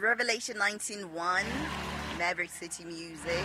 Revelation 19:1, Maverick City Music.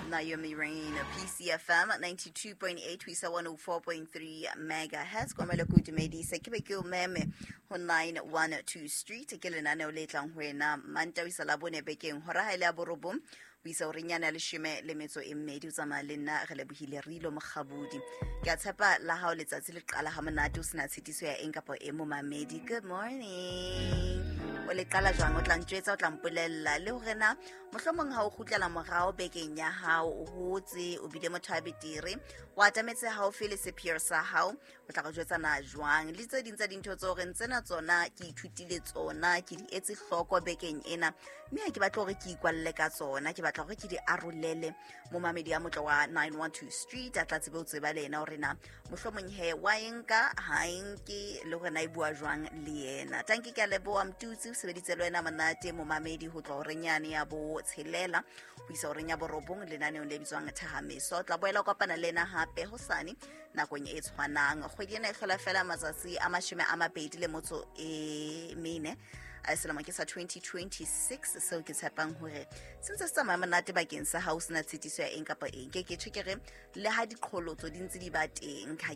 Naomi Rain, PCFM 92.8 ho isa 104.3 megahertz. Kwamele ko dumedise ke be ke o meme ho 912 Street, ke lenaneo le tlang ho wena Mantaha ho isa Labone bekeng hora ha e le ya borobong ho isa horeng yane ya leshome le metso e mmedi. O tsamaya le nna re lebohile Rilo Mokgabudi. Ke a tshepa la hao letsatsi le qala ha monate, o sena tshitiso ya eng kapa e momamedi. Good morning. O le qala jwang? O tla ntjwetsa, o tla mpolella le hore na mohlomong ha o kgutlela morao bekeng ya hao, o hotse, o bile motho a betere, o atametse haufi le sepheo sa hao, o tla re jwetsa na jwang le tse ding tsa dintho tse horeng tsena tsona ke ithutile tsona, ke di etse hloko bekeng ena, mme ha ke batle hore ke ikwalle ka tsona, ke batla hore ke di arolele momamedi ya motlo wa 912 Street, a tla tsebe ho tseba le yena hore na mohlomong he wa e nka ha e nke, le hore na e bua jwang le yena. Tanki, ke a leboha Mtutsi, o sebeditse le wena monate momamedi ho tloha horeng yane ya bo tshelela ho isa horeng ya borobong lenaneong le bitswang Thahameso. O tla boela o kopana le ena hape hosane nakong e tshwanang. Kgwedi ena e hlola fela matsatsi a 24, selemo ke sa 2026, seo ke tshepang hore se ntse se tsamaya monate bakeng sa hao, sena tshitiso ya eng kapa eng. Ke tjho ke re le ha diqholotso di ntse di ba teng, ha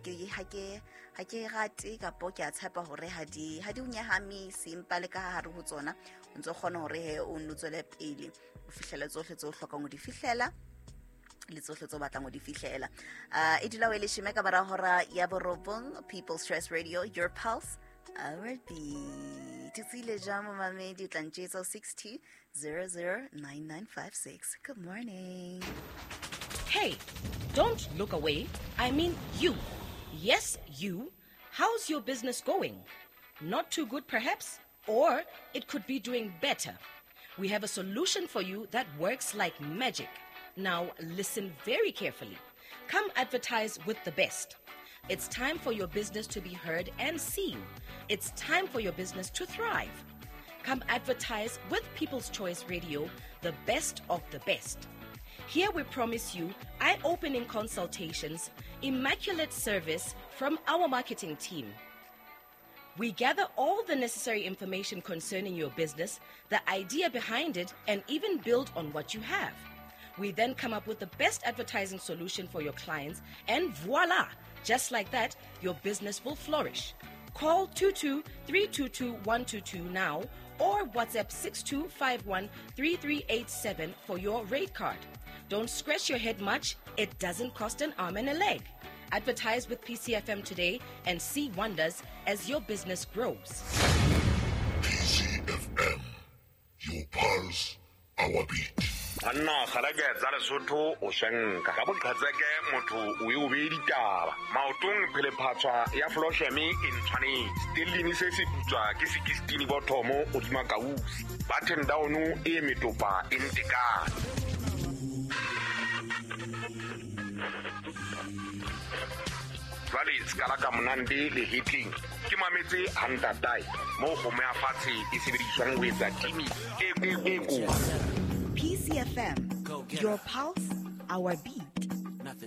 ke rate kapo ke a tshepa hore ha di o nyahamise, empa le ka hare ho tsona o ntso kgona hore he o nno tswele pele o fihlele tsohle tse o hlokang ho di fihlela le tsohle tse o batlang ho di fihlela. E dula o e leshome ka mora hora ya borobong. People's Choice Radio, your pulse, our beat. Tsile jwang momamedi? O tla ntjwetsa 62 009956. Good morning. Hey, don't look away. I mean you. Yes, you. How's your business going? Not too good, perhaps? Or it could be doing better. We have a solution for you that works like magic. Now, listen very carefully. Come advertise with the best. It's time for your business to be heard and seen. It's time for your business to thrive. Come advertise with People's Choice Radio, the best of the best. Here we promise you eye opening consultations, immaculate service from our marketing team. We gather all the necessary information concerning your business, the idea behind it, and even build on what you have. We then come up with the best advertising solution for your clients, and voila! Just like that, your business will flourish. Call 22 322 122 now or WhatsApp 6251 3387 for your rate card. Don't scratch your head much, it doesn't cost an arm and a leg. Advertise with PCFM today and see wonders as your business grows. PCFM, your pulse, our beat. Banna kgalake tsa Lesotho, o shenka ka boqhetseke, motho o e o bee ditaba maotong, phelephatshwa ya flosheme e ntshwanetse stellini se se putswa ke 16 bothomo godima kausi button down e metopa e ntekane. Jwale sekala ka monande le hitleng ke mametse hantatae moo kgomo ya fatshe e sebediswang ho etsa timi e e e kotsi. PCFM, your pulse, our beat.